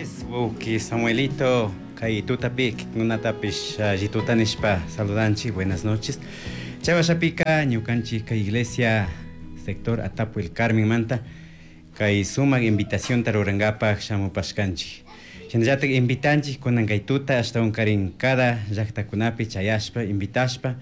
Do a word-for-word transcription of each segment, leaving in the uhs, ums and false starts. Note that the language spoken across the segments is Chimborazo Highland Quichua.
Noches, wawki Samuelito, kay tutapi kikunatapish alli tuta nishpa saludanchik, buenas noches. Chay washapika ñukanchik kay iglesia sector Atapu El Carmen manta kay sumak invitacionta rurankapak shamupashkanchik. Shinallatak invitanchik kunan kay tuta ashtawankarin cada llaktakunapi chayashpa invitashpa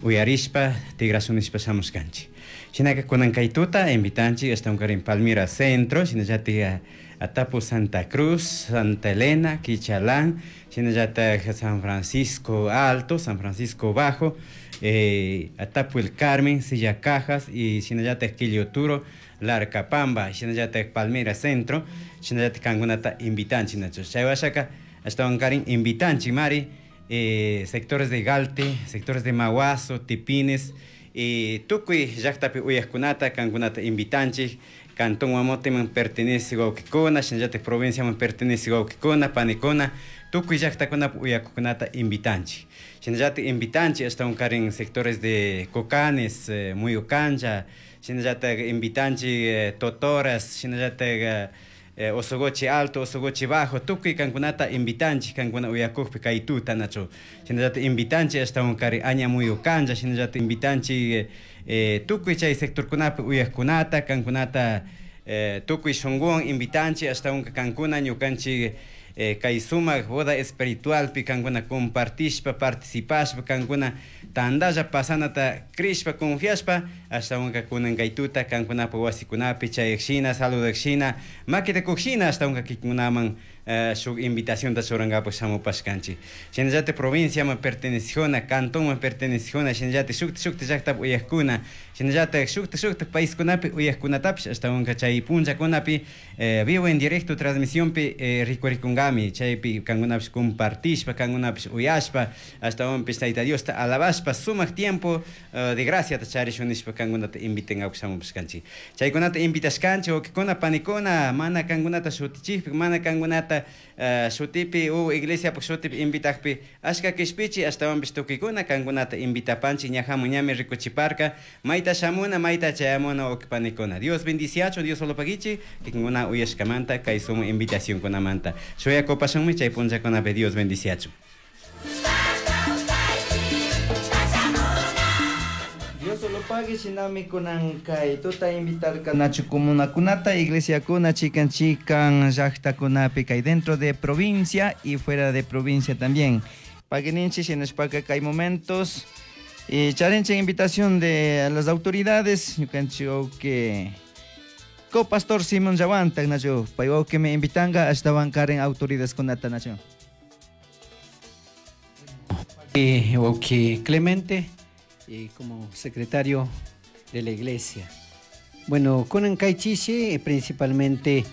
uyarishpa tigrashun nishpa shamushkanchik. Shinaka kunan kay tuta invitanchik ashtawankarin Palmira Centro, shinallatak Atapu Santa Cruz, Santa Elena, Quichalán, shinallatak San Francisco Alto, San Francisco Bajo, eh, Atapu El Carmen, Silla Cajas y shinallatak Quilloturo, Larcapamba, shinallatak Palmira Centro, shinallatak kankunata invitanchik nachu. Chay washaka ashtawankarin invitanchik mari, eh, sectores de Galte, sectores de Maguazo, Tipines, y tukuy llaktapi uyajkunata kankunata invitanchik, Cantón Guamoteman pertenece wawkikuna, shinallatak provinciaman pertenece wawkikuna, panikuna, tukuy llaktakunapi uyakukunata invitanchik. Shinallatak invitanchik ashtawankarin sectores de Cocanes, eh, Muyucancha, shinallatak invitanchik, eh, Totoras, shinallatak, eh, Osogochi Alto, Osogochi Bajo, tukuy kankunata invitanchik, kankuna uyakukpi kay tuta nachu. Shinallatak invitanchik ashtawankari Aña Muyucancha, shinallatak invitanchik, eh, tukuy chay sectorkunapi uyakkunata, kankunata, eh, tukuy shunguwan invitanchik ashtawanka kankuna ñukanchik, eh, kay sumak boda espiritualpi kankuna compartishpa, participashpa, kankuna tandalla pasanata crishpa, confiashpa, ashtawanka kunan kay tuta kankunapa wasikunapi chayakshina, saludakshina, makita kukshina, ashtawanka kikunkunaman, eh, shuk invitacionta churankapak shamupashkanchik. Shinallatak provinciaman pertenecejuna, cantonman pertenecejuna, shinallatak shukta shukta llaktapi uyakkuna, shinallatak shukta shukta paiskunapi uyakkunatapish ashtawanka chay punllakunapi, eh, vivo en directo transmisionpi, eh, rikurikunkami, chaypi kankunapish compartishpa, kankunapish uyashpa, ashtawanpish Tayta Diosta alabashpa, sumak tiempo, eh, de graciata charishun nishpa kankunata invitenkapak shamupashkanchik. Chaykunata invitashkanchik, wawkikuna, panikuna, mana kankunata shutichikpi, mana kankunata, eh, shutipi u iglesiapak shutipi invitakpi ashka kishpichi, ashtawanpish tukuykuna kankunata invitapanchik, ñajamun ñami rikuchiparka, mayta shamuna, mayta chayamuna wawki panikuna. Dios bendiciachun, Dios solo pagichi, kikinkuna uyashkamanta, kay sumu invitacionkunamanta. Shuyakupashunmi chay punllakunapi Dios bendiciachun. Dios solo pague, shinami kunan kay tuta invitar nachu comunakunata, iglesiakuna, chikan chikan llaktakunapi kay dentro de provincia y fuera de provincia también. Pagueninchi shinashpaka kay momentos y charenche invitación de las autoridades, ñukanchi que co-pastor Simón Yawanta, nachu, paywa que me invitanga hasta bancar en autoridades kunata nachu. Eh, ok, Clemente, y como secretario de la iglesia. Bueno, con Kaichishi, principalmente,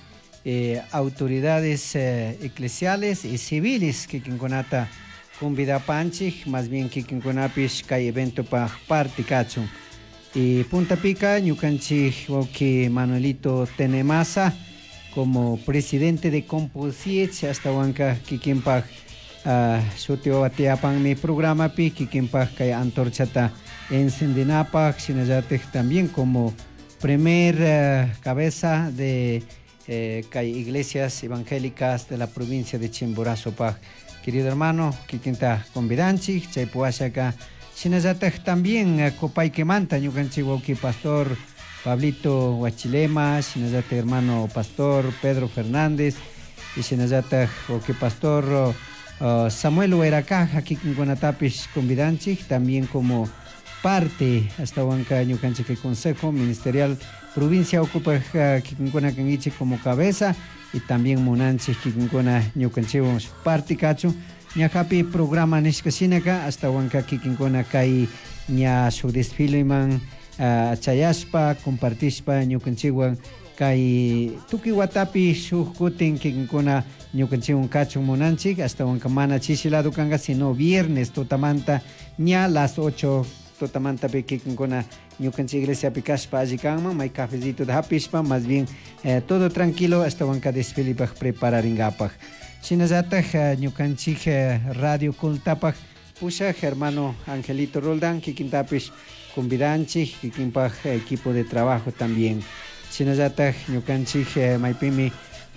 eh, autoridades, eh, eclesiales y civiles que quinconata convida panchik, más bien que quinconapis kay evento pa parte kachun. Y Punta Pica, ñukanchik wauki Manuelito Tenemasa, como presidente de Composiech, hasta huanca kikinpak, ah, shuti wawa mi programa pi, kikinpak kay antorchata encendinapak, shinallatik también como primer, eh, cabeza de, eh, kay iglesias evangélicas de la provincia de Chimborazo pak. Querido hermano, kikinta convidanchik, chaypuashaka, shinallatak también, eh, Copaiquemanta, ñukanchik wauki pastor Pablito Huachilema, shinallatak hermano pastor Pedro Fernández, y shinallatak wauki pastor, eh, Samuel Hueracaja, kikinkunatapish convidanchik, también como parte hasta huanca ñukanchik el Consejo Ministerial Provincia ocupa, eh, kikinkuna kangichik como cabeza, y también munanchik kikinkuna ñukanchikwan parte kachu ñajapi programa nishka shinaka hasta huanca kikinkuna kay ña su desfileman, eh, chayashpa compartishpa ñukanchikwan kay tukuy watapi shuk kutin kikinkuna ñukanchikwan kachun munanchik hasta huanca mana chishi lado kanka sino viernes tutamanta ña las ocho tutamanta pi kikinkuna ñukanchik iglesia pi kashpa alli kanman may cafecito de hapishpa más bien, eh, todo tranquilo hasta huanca desfile paj prepararingapak. Shinallatak, eh, ñukanchik, eh, radio Kultapak pushak hermano Angelito Roldán kikintapish convidanchik kikinpak equipo de trabajo también. Shinallatak ñukanchik, eh, maypimi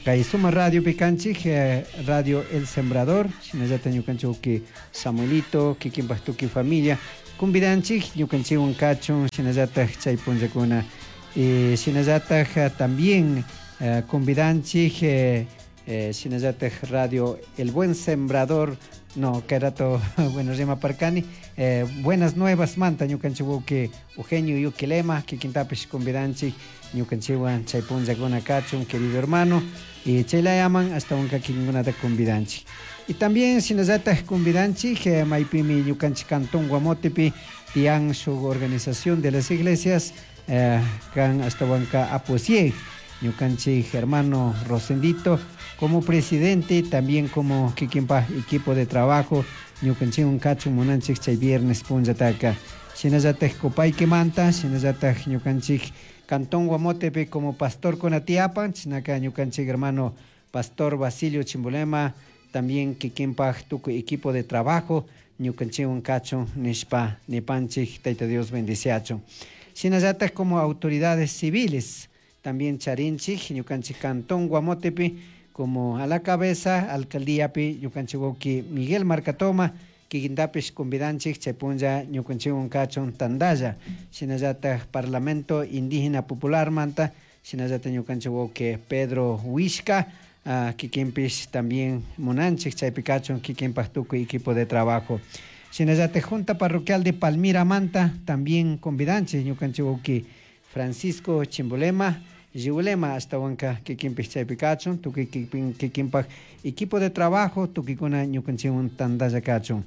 Kay suma radio pikanchik, eh, Radio El Sembrador, shinallata ñukanchik Samuelito, kikinpak tukuy familia, convidanchik ñukanchikwan kachun, shinallatak chay punllakuna. Eh, shinallatak también eh, convidanchik, eh, eh, shinallatak Radio El Buen Sembrador, no, que rato, bueno, rima parcani, eh, buenas nuevas manta ñukanchik Eugenio Yuquilema, kikintapish convidanchik ñukanchikwan chay punllakuna kachun, querido hermano, y chaylayaman hasta unka kikinkunata convidanchik. Y también shinallatak convidanchik, eh, maypimi ñukanchik Cantón Guamotepi tiyan shuk organización de las iglesias, eh, kan hasta wanka Aposieg, ñukanchik hermano Rosendito como presidente, también como kikinpa equipo de trabajo, ñukanchikwan kachun munanchik chay viernes punllataka. Shinallatak Copaiquemanta, shinallatak ñukanchik Cantón Guamotepe como pastor conatiapan, chinaka ñukanchik hermano pastor Basilio Chimbolema, también kikinpa tukuy equipo de trabajo, ñukanchikwan kachun nishpa nipanchik, Tayta Dios bendiciachun. Shinallatak como autoridades civiles, también charinchik, ñukanchik Cantón Guamotepe, como a la cabeza, alcaldíapi, ñukanchik wawki Miguel Marcatoma, kikintapish convidanchik chay punlla ñukanchikwan kachun tandalla. Shinallatak Parlamento Indígena Popular manta, shinallatak ñukanchik wawki Pedro Huishca, uh, kikinpish también munanchik chaypi kachun kikinpak tukuy equipo de trabajo. Shinallatak Junta Parroquial de Palmira manta, también convidanchik ñukanchik wawki Francisco Chimbolema, Yiulema hasta wanka kikinpish chaypi kachun, tukuy kikinpak equipo de trabajo, tukikuna ñukanchikwan tandalla kachun.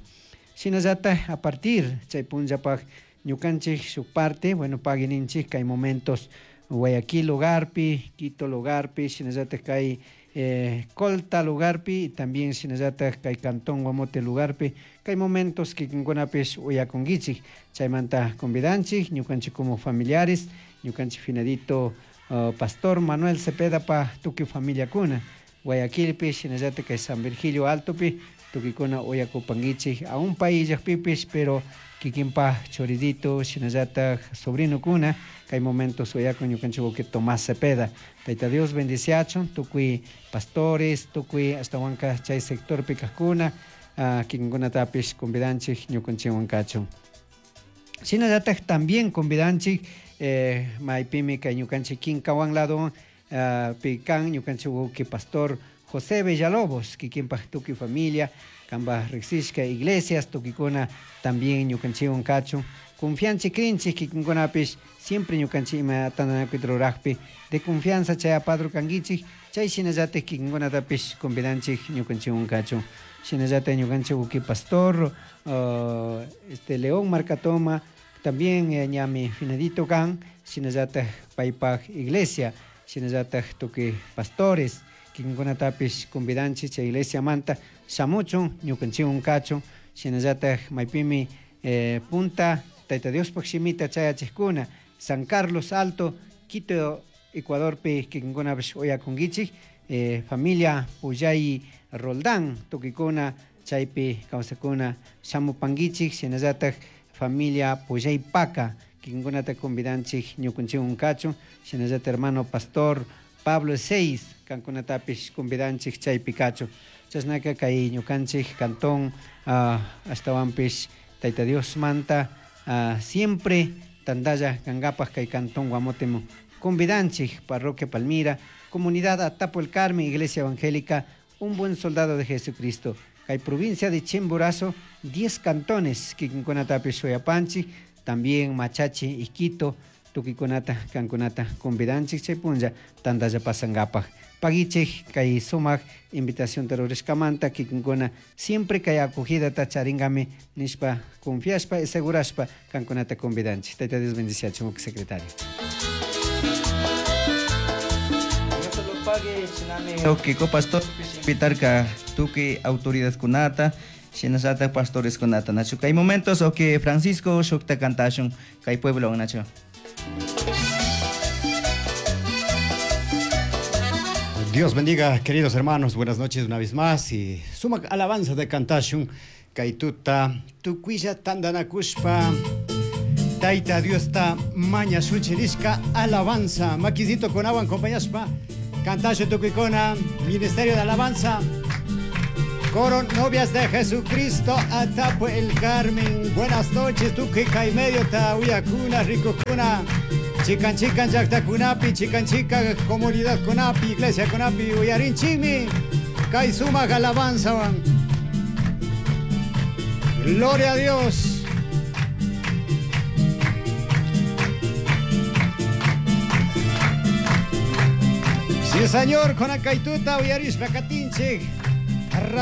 Shinallatak a partir chay punllapak ñukanchik shuk parte, bueno, paguininchik kay momentos Guayaquil lugarpi, Quito lugarpi, shinallatak kay eh, Colta lugarpi, y también shinallatak kay Cantón Guamote lugarpi, kay momentos kikinkunapish uyakunkichik, chaymanta convidanchik, ñukanchik como familiares, ñukanchik finadito Uh, pastor Manuel Cepeda pa tukuy familia kuna, Guayaquilpi, shinallatak kay San Virgilio Altopi, tukikuna uyakupankichik, aún paillakpipish, pero kikinpa choridito, shinallatak sobrino kuna, kay momentos uyakun ñukanchik wawqi Tomás Cepeda. Tayta Dios bendiciachun, tukuy pastores, tukuy hasta wanka chay sectorpi kajkuna, uh, kikinkunatapish convidanchik ñukanchikwan kachun. Shinallatak también convidanchik, eh, maypimi kay ñukanchik Kinkawan lado, uh, pikan ñukanchik wawqi pastor José Villalobos, kikinpak tukuy familia, kanpak riksishka iglesias, tukikuna también ñukanchikwan kachun. Confianchik krinchik kikinkunapish, siempre ñukanchik ima tandanakuyta rurajpi, de confianza chay apadru kankichik, chay shinallatak kikinkunatapish convidanchik ñukanchikwan kachun. Shinallatak ñukanchik wawqi pastor, uh, este León Marcatoma, también eh, ñami finadito kan, shinallatak paypak iglesia, shinallatak tukuy pastores, kikinkunatapish convidanchik chay iglesia manta shamuchun, ñukanchikwan kachun, shinallatak maypimi eh, punta Tayta Diospaj shimita chayachikkuna, San Carlos Alto, Quito, Ecuadorpi kikinkunapish uyakunkichik, eh, familia Puyay Roldán, tukikuna chaypi kawsakuna shamupankichik, shinallatak familia Puyay Paca, kikinkunata convidanchik ñukanchikwan kachun, shinallatak hermano pastor Pablo Seis, kankunatapish convidanchik chaypi kachun. Chashnaka kay ñukanchik cantón, uh, ashtawanpish Tayta Dios manta, uh, siempre tandalla kangapak kay cantón Guamotemo. Convidanchik, Parroquia Palmira, Comunidad Atapo el Carmen, Iglesia Evangélica, Un Buen Soldado de Jesucristo. Kay provincia de Chimborazo, diez cantones, kikinkunatapish uyapanchik, también Machachi y Quito, tukikunata, kankunata, convidanchik chay punlla, tandalla pasangapak. Paguichik, kay sumak, invitación terrorishkamanta, kikinkuna, siempre kay acogida ta charingami, nishpa, confiashpa y segurashpa, kankunata convidanchik. Tayta Dios bendiciachun, secretario. Ok, pastor, invitar tuki autoridad kunata, shinallata pastores kunata, nacho. Kay momentos, ok, Francisco, shukta kantashun, kay pueblo, nacho. Dios bendiga, queridos hermanos, buenas noches una vez más y suma alabanza de kantashun, kaytuta, tukuilla tandanakushpa, Taita Dios ta maña shuchirishka alabanza, maquisito con agua acompañashpa, Cantasho Tucuicona, Ministerio de Alabanza. Coro Novias de Jesucristo, Atapo el Carmen. Buenas noches, Tucuica y medio Tauyacuna, Ricocuna. Chican chican llaqtakunapi, chican chica comunidad kunapi, iglesia kunapi, uyarinchikmi, kay sumaq alabanzawan. Gloria a Dios. Sí, Señor, con akaituta uyarishpa katinchik.